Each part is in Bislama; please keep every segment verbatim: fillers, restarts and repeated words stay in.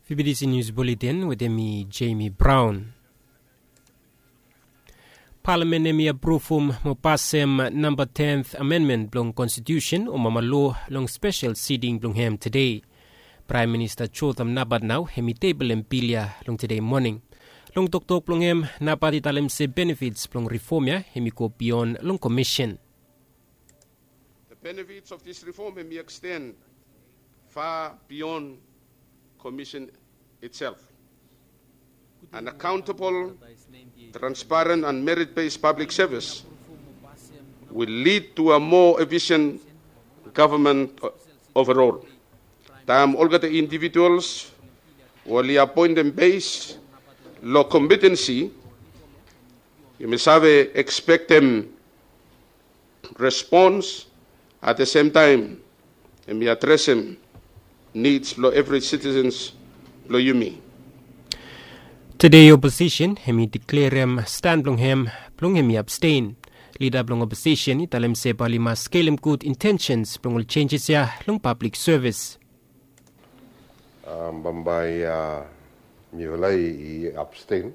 Fibidisi Nius Buletin wetem mi, Jamie Brown. Palamen hemi apruvum mo pasem namba tenth amenmen blong konstitusen o mama loa long spesel siting blong hem tede. Praem Minista Jotham Napat nao hemi teblem bil ya long tede moning. Long toktok blong hem, Napat i talem se benefits blong rifom ya hemi go bion long komisen. The benefits of this reform may extend far beyond Commission itself. An accountable, transparent and merit-based public service will lead to a more efficient government overall. Taem olgeta individuals we oli appointed based lo competency, yumi save expectem response at the same time, hemi adresem needs blo evri citizens blo yumi. Tede oposisen hemi deklerem stan blong hem blong hemi abstain. Lida blong oposisen i talem se bae oli mas skelem gud intensens blong ol jenjes ya long pablik sevis. Bambae mifala i abstain.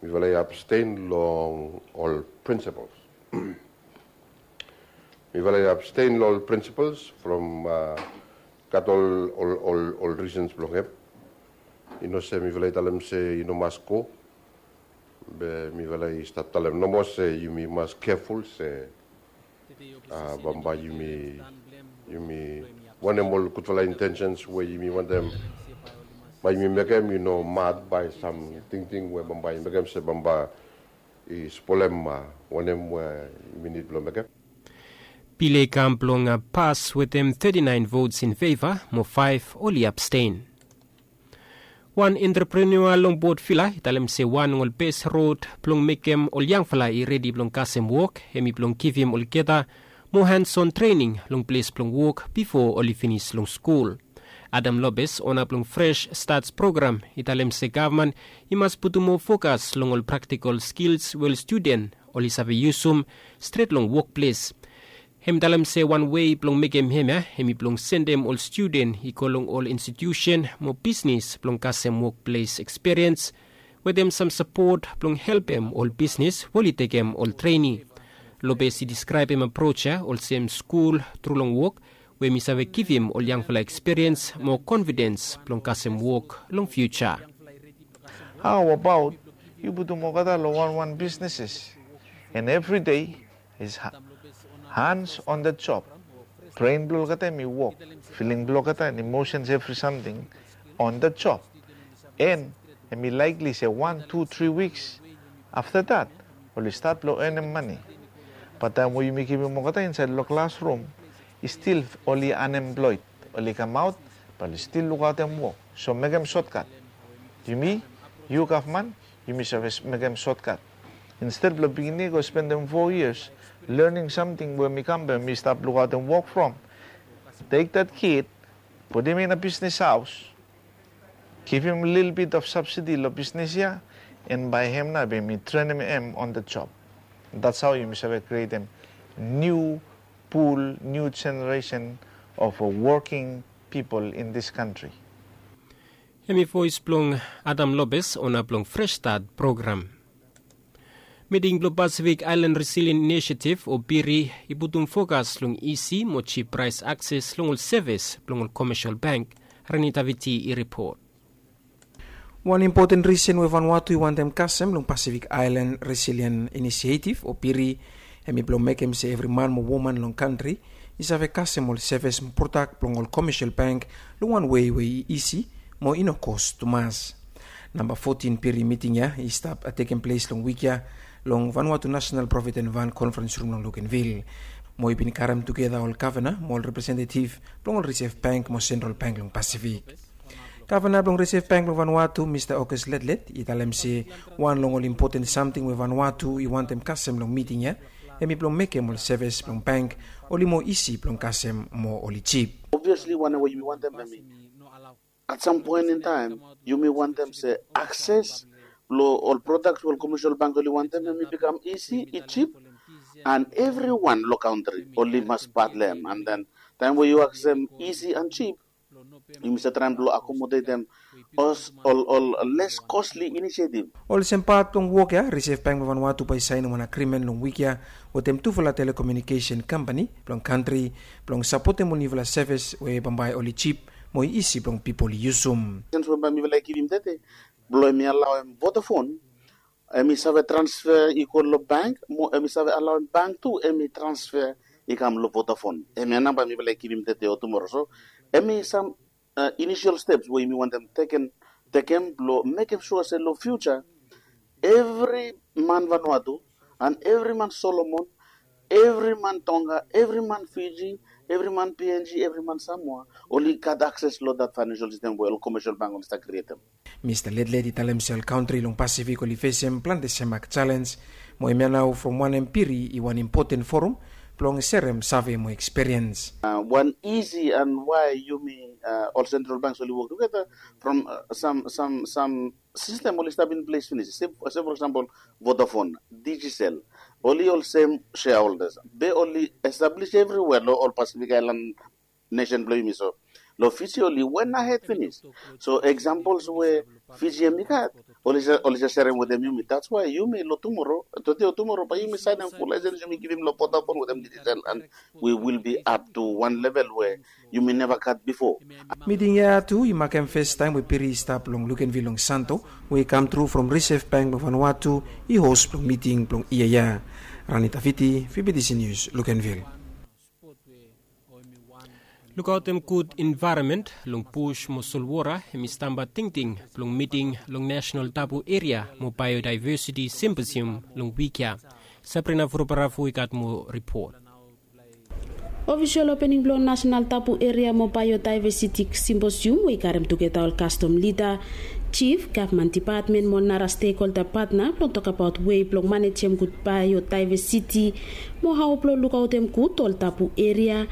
Mifala i abstain long ol principles. Mifala i abstain long ol principles from gat ol ol ol reasons blong hem. I no se mifala i talem se i no mas go. Be mifala i stap talem nomo se yumi mas keful se bambae yumi yumi wanem ol gudfala intensens we yumi wantem bae yumi mekem i no mad bae sam tingting we bambae i mekem se bambae i spolem wanem we yumi nid blong mekem. Bil ya i kam blong pas wetem thirty-nine votes in favor mo five oli abstain. Wan entreprenua long Port Vila i talem se wan long ol bes rod blong mekem ol yangfala i redi blong kasem wok hemi blong givim olgeta mo hands-on trening long ples blong wok bifo oli finis long skul. Adam Lopez, ona blong Fresh Starts program, i talem se gavman i mas putum moa fokas long ol praktikol skils we ol studen oli save yusum stret long wokples. Hem i talem se wan wei blong mekem hemia hemi blong sendem ol studen i go long ol institiusen mo bisnis blong kasem wokples ekspiriens wetem sam sapot blong helpem ol bisnis we oli tekem ol trening. Lopez i diskraebem aproj ya olsem skul tru long wok we mi save givim ol yangfala ekspiriens mo konfidens blong kasem wok long fiuja. Hao abaot yu putum olgeta long wanwan bisneses? And evri dei is hans on the job. Bren blong olgeta hem i wok, filing blong olgeta and imosens evri samting on the job. And hem i laikli se wan tu tri wiks afta dat oli stat blong enem mane. Bat taem we yumi kipim olgeta insaed long klasrum i stil oli anemploed, oli kamaot bat oli stil lukaotem wok. So mekem sotkat. Yumi, yu gavman, yumi save mekem sotkat. Insted blong pikinini i go spendem fo yias lening samting we mi kam be mi stap lukaotem wok from, tek dat kid, putim in a bisnis haos, givim lilbit of sabsidi long bisnis ya, and bae hem nao be mi trenem hem on the job. That's hao yumi save krietem niu pul, niu jeneresen of woking pipol in this kantri. Hem i voes blong Adam Lopez, ona blong Fresh Start program. Miting blong Pacific Island Resilience Initiative o PIRI i putum fokas long isi mo jip praes akses long ol sevis blong ol komesial bank. Reni Taviti i ripot. Wan impoten risen we Vanuatu i wantem kasem long Pacific Island Resilience Initiative o PIRI, hem i blong mekem se evri man mo woman long kantri i save kasem ol sevis mo prodak blong ol komesial bank long wan wei we i isi mo i no kos tumas. Namba fotin PIRI miting ya i stap tekem ples long wik ya long Vanuatu National Provident Fund Conference Room long Luganville, mo i bin karem tugeta ol gavana mo ol representetiv blong ol Reserve Bank mo Sentral Bank long Pasifik. Gavana blong Reserve Bank blong Vanuatu, Mista August Letlet, i talem se wan long ol impoten samting we Vanuatu i wantem kasem long miting ya hem i blong mekem ol sevis blong bank oli moa isi blong kasem mo oli jip. Obviasli wanem we yumi wantem hem i at sam poen in taem yumi wantem se akses blong ol prodaks we ol komesial bank oli wantem hem i bikam isi, i jip, and evriwan long kantri oli mas pat long hem. And then taem we yu aksem isi and jip, Yumi save traem blong akomodetem ol les kosli inisiativ. Olsem pat blong wok ya, Reserve Bank blong Vanuatu bae i saenem wan agrimen long wik ya wetem tufala telekomunikesen kampani blong kantri blong sapotem ol niufala sevis we bambae oli jip mo i isi blong pipol i yusum. Sens we bae mifala i givim tede blong hem i alaoem Vodafone, hem i save transfer i go long bank mo hem i save alaoem bank tu hem i transfer i kam long Vodafone. Hemia nao bae mifala i givim tede o tumoro. So hem i sam inisial steps we yumi wantem tekem blong mekem sua se long fiuja evri man Vanuatu and evri man Solomon, evri man Tonga, evri man Fiji, evri man PNG, evri man Samoa oli gat akses long dat faenensial sistem we ol komesial bank oli stap krietem. Mista Ledled i talem se ol kantri long Pasifik oli fesem plante semak jalenj mo hemia nao from wanem piri i wan impoten forum blong serem save mo ekspiriens. Wan isi and wae yumi ol sentral banks oli wok tugeta from sam sam sam sistem oli stap in ples finis se for eksampol Vodafone, Digicel, oli olsem shareholders be oli establis evriwea long ol Pasifik aelan nesen blong yumi. So long Fiji oli wen ahed finis. So eksampol we Fiji hem i gat oli jes serem wetem yumi. That's why yumi long tumoro, tode o tumoro bae yumi saenem ful laesens yumi givim long Vodafone wetem Digicel and we will be up to wan level we yumi neva gat bifo. Miting ya tu i makem fes taem we piri i stap long Luganville long Santo we i kam tru from Reserve Bank blong Vanuatu i hos blong miting blong yia ya. Rani Taviti, VBTC News, Luganville. Lukaotem gud envaeronmen long bus mo solwota hem i stamba tingting blong miting long Nasenal Tabu Eria mo Baeodaevesiti Simposium long wik ya. Sabrina Vurobaravu i gat moa ripot. Ofisol opening blong Nasenal Tabu Eria mo Baeodaevesiti Simposium we i karem tugeta ol kastom lida, jif, gavman depatmen mo nara stekholda patna blong tokbaot wei blong manejem gud baeodaevesiti mo hao blong lukaotem gud ol tabu eria,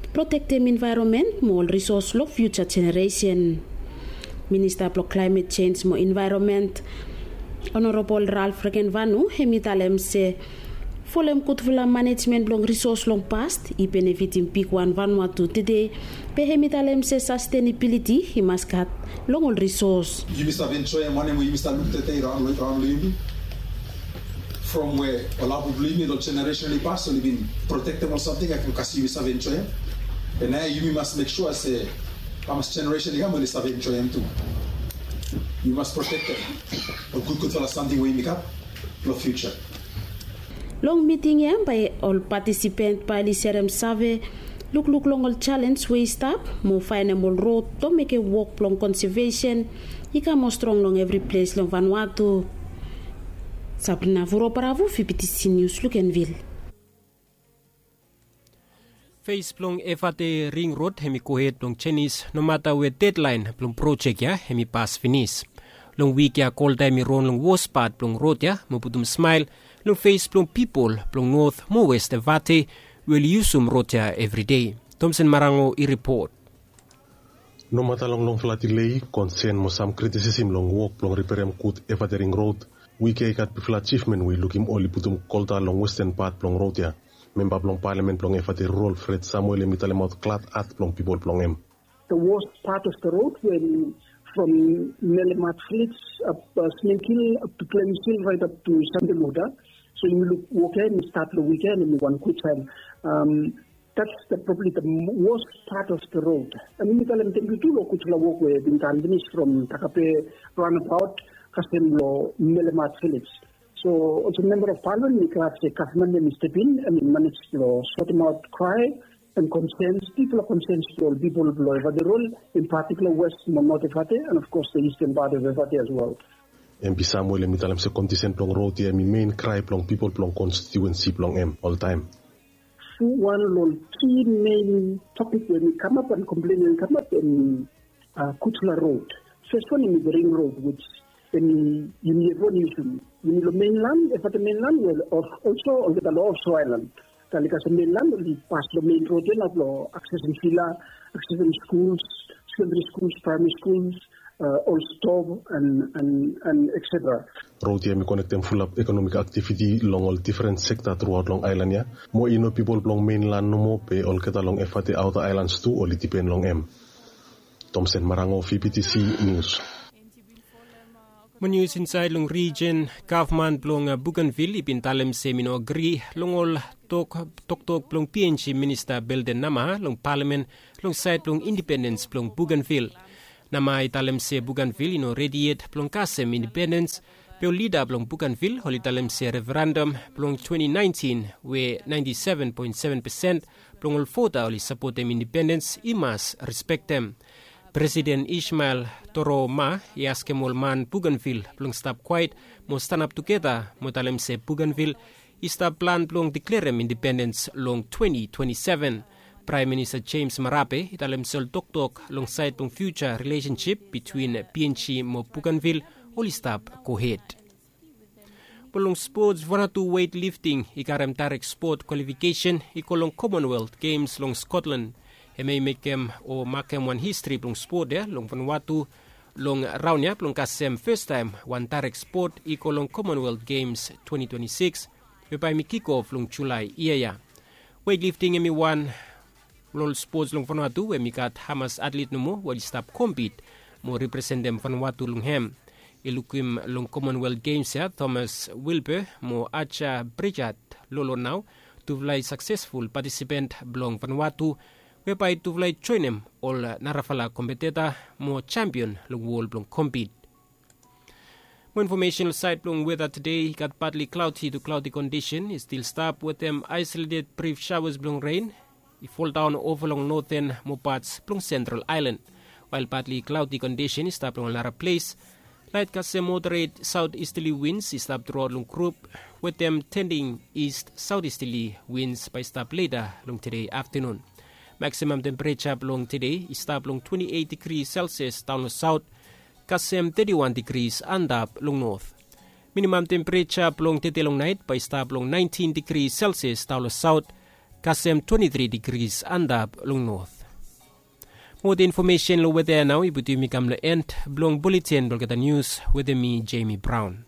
protektem envaeronmen mo ol risos long fiuja jeneresen. Minista blong Klaemet Jenj mo Envaeronmen, Onorabol Ralph Regenvanu, hem i talem se folem gudfala manejmen blong risos long past i benefitim bigwan Vanuatu tede, be hem i talem se sastenebiliti i mas gat long ol risos. Yumi save enjoem wanem we yumi stap luk tede i raon long yumi. From we ol abu blong yumi long jeneresen i pas oli bin protektem ol samting ya, kas yumi save enjoem. Be naoia yumi mas mek sua se hamas jeneresen i kam oli save enjoem tu. Yumi mas protektem ol gudgudfala samting we yumi gat long fiuja. Long miting ya bae ol patisipant bae oli serem save lukluk long ol jalenj we i stap mo faenem ol rod blong mekem wok blong konsevesen i kam moa strong long evri ples long Vanuatu. Sabrina Vurobaravu, VBTC News, Luganville. Fes blong Efate Ring Rod hem i gohed blong jenis nomata we dedlaen blong projek ya hem i pas finis. Long wik ya kolta hem i ron long wos pat blong rod ya mo putum smael long fes blong pipol blong Not mo Wes Efate we oli yusum rod ya evri dei. Tomsen Marango i ripot. Nomata long longfala dilei, konsen mo sam kritisesim long wok blong riperem gud Efate Ring Rod, wik ya i gat bigfala ajivmen we i lukim oli putum kolta long westen pat blong rod ya. Memba blong palamen blong Efate Rural, Fred Samuel, hem i talemaot glad at blong pipol blong hem. The worst part of the road when from Melemat village up uh, Sminkill up to Clemson right up to Sandemoda. So you look okay and start the weekend and one good time. Um, that's the probably the worst part of the road. And you tell them thank you to lo good work where been done finish from Takape roundabout, Kasem lo Melemat village. So also member of parliament, Nicolas Kaufman, and Mister Bean, and managed to sort them out, cry, and concerns, people of concerns to all people of Efate Rural, in particular West Monot Efate, and of course the eastern part of Efate as well. M P Samuel hem i talem se kondisen blong rod ya hem i main krae blong pipol blong konstituensi blong hem oltaem. Fu wan long ol ki main topik we hem i kamap and komplen we hem i kamap hem i gudfala rod. Fes wan hem i the ring rod which hem i yumi evriwan yusum. Yumi long mainland, Efate mainland, we also olgeta long offshore island. Tali kasem mainland oli pas long main rod ya nao blong aksesem vila, aksesem skuls, sekondari skuls, praemari skuls, ol stov and etc. Rod ya hem i konektem fulap ekonomik aktiviti long ol difren sekta truaot long aelan ya. Mo i no pipol blong mainlan nomo be olgeta long Efate aota aelans tu oli dipen long hem. Tomsen Marango, V P T C News. Mo nius insaed long rijin, gavman blong Bougainville i bin talem se mi no agri long ol toktok blong P N G minista Belden Nama long palamen long saed blong indipendens blong Bougainville. Nama i talem se Bougainville i no redi yet blong kasem indipendens, be ol lida blong Bougainville oli talem se referendum blong twenty nineteen we ninety seven point seven percent blong ol vota oli sapotem indipendens i mas respektem. Presiden Ismael Toro Ma i askem ol man Bougainville blong stap kwaet mo stanap tugeta mo talem se Bougainville i stap plan blong deklerem indipendens long twenty twenty seven. Praem Minista James Marape i talem se ol toktok long saed blong fiuja rilesensip bitwin P N G mo Bougainville oli stap gohed. Mo long spots, Vanuatu weightlifting i karem daerek spot kwalifikesen i go long Commonwealth Games long Scotland. Hemia i mekem o makem wan histri blong spot ya long Vanuatu long raon ya blong kasem fastaem wan daerek spot i go long Commonwealth Games twenty twenty six, we bae mi kikof long Julae yia ya. Weightlifting hemi wan long ol spots long Vanuatu we hemi gat hamas atlet nomo we oli stap kompit mo representem Vanuatu long hem. I lukim long Commonwealth Games ya, Thomas Wilbur mo Aja Brijat Lolo nao tufala i saksesful patisipent blong Vanuatu, we bae tufala i joenem ol narafala kompeteta mo jampion long wol blong kompit. Mo infomesen long saed blong weta tede, i gat partly cloudy to cloudy kondisen i stil stap wetem isolated brief showers blong ren i foldaon ova long noten mo pats blong Central Island. Wael partly cloudy kondisen i stap long ol nara ples, laet kasem moderate southeasterly winds i stap truaot long grup, wetem tending east southeasterly winds bae i stap leta long tede aftenun. Maximum tempereja blong tede i stap long twenty eight degrees Celsius daon long saot, kasem thirty one degrees antap long not. Minimum tempereja blong tede long naet bae i stap long nineteen degrees Celsius daon long saot, kasem twenty three degrees antap long not. Mo wetem infomesen long weta ya nao i putum yumi kam long en blong buletin blong olgeta nius wetem mi, Jamie Brown.